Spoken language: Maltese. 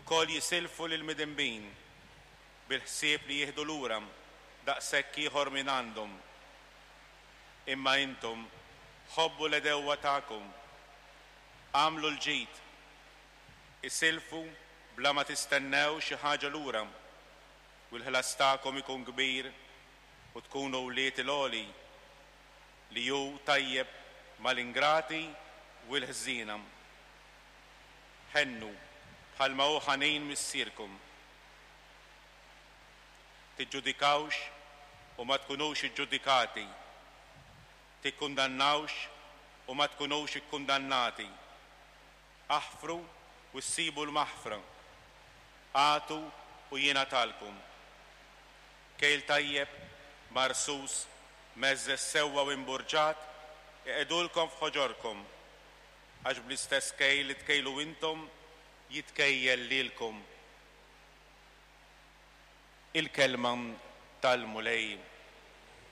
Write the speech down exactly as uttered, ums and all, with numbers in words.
Ukoll jisilfu lill-midinbin bil-ħsieb li jieħdu lura daqshekk ieħor minn għandhom. Imma intom ħobbu l-għedewwa tagħkom, agħmlu l-ġid, isilfu bla ma tistennew xi ħaġa lura, u l-ħlas tagħkom ikun kbir u tkunu wlied il-Għoli, li hu tajjeb mal-ingrati u l-ħżiena. Ħennu bħalma hu ħanin Missierkom. Tiġġudikawx u ma tkunux iġġudikati. Tikkundannawx u ma tkunux ikkundannati. Aħfru u ssibu l-maħfra. Agħtu u jingħatalkom. Kejl tajjeb, marsus, mheżżeż sewwa u imburġat, iqegħdulkom f'ħoġorkom, għax bl-istess kejl li tkejlu intom jitkejjel lilkom. Il-kelma tal-Mulej.